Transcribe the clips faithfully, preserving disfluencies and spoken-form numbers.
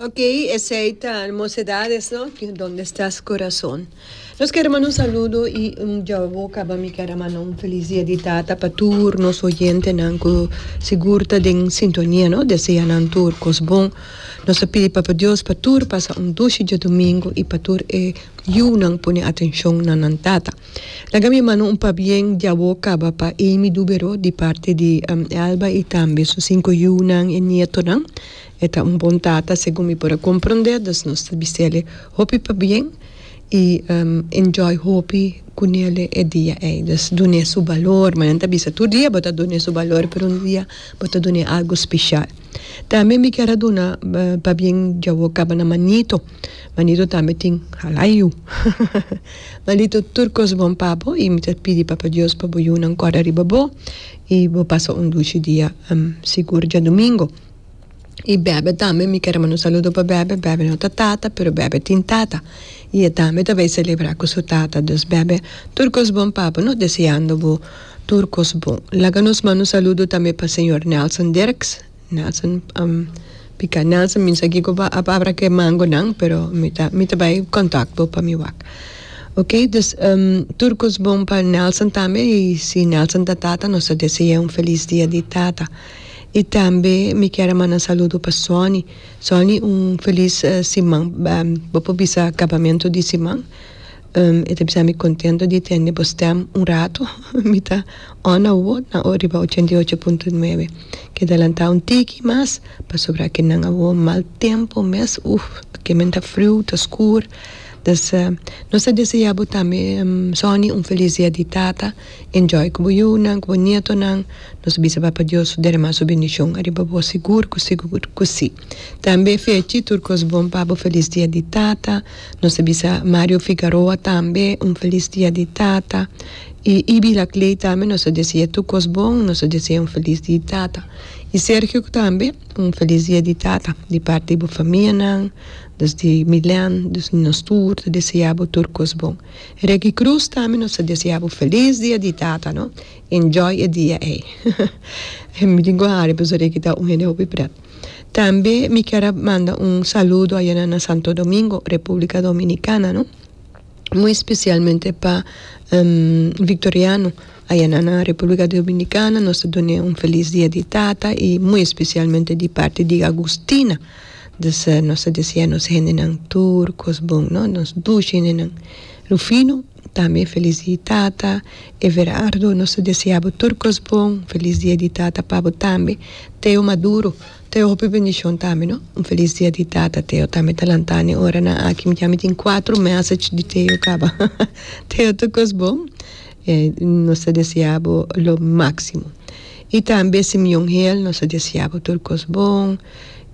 Ok, esey ta Mocedades, no? Donde estás, corazón? Nos kier manda un saludo y un ya caba mi kier manda un feliz dia di tata pa tur nos oyentenan cu sigur ta den sintonia, no? Desea nan tur cos bon. Nos ta pidi Papa Dios pa tur pasa un dushi diadomingo y pa tur e yiunan pone atencion na nan tata. Laga mi manda un pabien ya caba pa Amy Dubero di parti di um, Elba y tambe su cinco yiunan y nietonan. E ta un bon tata, segun mi por comprende, dus nos ta bisele hopi pabien y um, enjoy hopi cunele e dia ey. Dus dune su balor, mas nan bisa tur dia bo ta dune su balor, pero un dia bo ta dune algo special. Tambe mi kier duna uh, pabien ya caba na Manito. Manito tambe tin hala yiu. Manito, tur cos bon pa bo y mi ta pidi Papa Dios pa bo yiunan corda riba bo y bo pasa un dushi dia um, sigur diadomingo. Y Bebe tambe, mi kier manda un saludo pa Bebe. Bebe no ta tata, pero Bebe tin tata. Y e tambe ta bay celebra cu su tata. Dus Bebe, tur cos bon pa bo, no? Deseando bo tur cos bon. Laga nos manda un saludo tambe pa señor Nelson Dirks. Nelson, um, pica Nelson, mi sa kico a abra cu mango nan, pero mi ta, mi ta bay contacto pa mi wak. Ok, dus um, tur cos bon pa Nelson tambe y si Nelson ta tata, nos ta desea un feliz dia di tata. Y tambe mi kier manda un saludo pa Sonny. Sonny, un feliz uh, siman, um, bo bisa acabamento di siman. Um, e ta mi contento di tende bo stem un rato. Mi ta on awo na riba ochenta y ocho punto nuebe. Keda lanta un tiki mas, pasobra cu nan awo mal tempo mes, uf, cu men ta frio, ta scur. Dus uh, nos ta desea bo tambe, um, Sonny, un feliz dia di tata. Enjoy cu bo yiunan, cu bo nietonan. Nos bisa Papa Dios derama su bendicion ariba bo, sigur cu sigur cu si. Tambe Fechi, tur cos bon pa bo, feliz dia di tata. Nos bisa Mario Figueroa tambe un feliz dia di tata. Y Ibi Laclay tambe nos desea tur cos bon, nos desea un feliz dia di tata. Y Sergio tambe, un feliz dia di tata, di parti di famianan, dus di Milan, dus nos tur, desea tur cos bon. Reggie Cruz tambe nos desea feliz dia di tata, no? Enjoy e dia ey. Mi tin cu hari, pasobra Reggie ta un hende hopi pret. Tambe mi kier manda un saludo aya na Santo Domingo, Republica Dominicana, no? Muy especialmente pa um, Victoriano, aya na Republica Dominicana, nos ta duna un feliz dia di tata y muy especialmente di parti di Agustina. Dus uh, nos ta desea nos hendenan tur cos bon, no? Nos dushi hendenan. Rufino, tambe feliz dia di tata. Everardo, nos ta desea tur cos bon, feliz dia di tata pa bo tambe. Teo Maduro, Teo, hopi bendicion tambe, no? Un feliz dia di tata, Teo tambe ta lanta e oranan aki, mi ya tin cuater message di Teo caba. Teo, tur cos bon. Eh, nos ta desea lo maximo. Y tambe Simeon Hill, nos ta desea tur cos bon.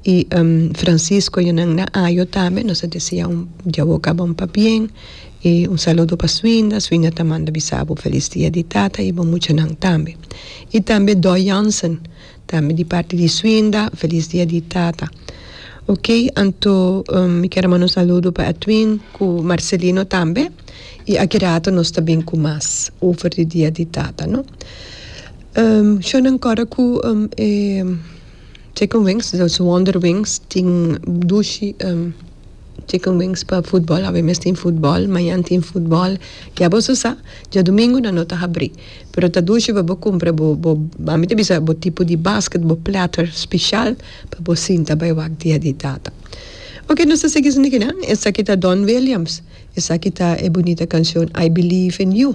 Y um, Francisco Yonan na Ayo tambe, nos ta desea un dia caba un pabien. Y un saludo pa Swinda, Swinda ta manda bisa bo feliz dia di tata y bo muchanan tambe. Y tambe Doy Jansen, tambe di parti di Swinda, feliz dia di tata. Ok, anto um, mi kier manda un saludo pa Edwin, cu Marcelino tambe. Y aki rato nos tambe cu mas over di dia di tata, no? Um, Shon ancora cu um, eh, chicken wings, dus Wonder Wings, tin dushi um, chicken wings pa futbol, awe mes tin futbol, mañan tin futbol. Ya bo sa, diadomingo nan no ta habri. Pero ta dushi pa bo cumpra bo bo ami ta bisa bo tipo di basket, bo platter special pa bo sinta bay wak dia di tata. Ok, nos ta sigui aki nan. Esaki ta Don Williams. Esaki ta e bunita cancion "I Believe in You".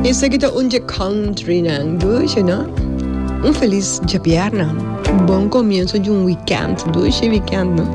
Esaki ta un country nan, dushi, no? Un feliz diabierna. Un bon comienso di un weekend. Dushi weekend, no?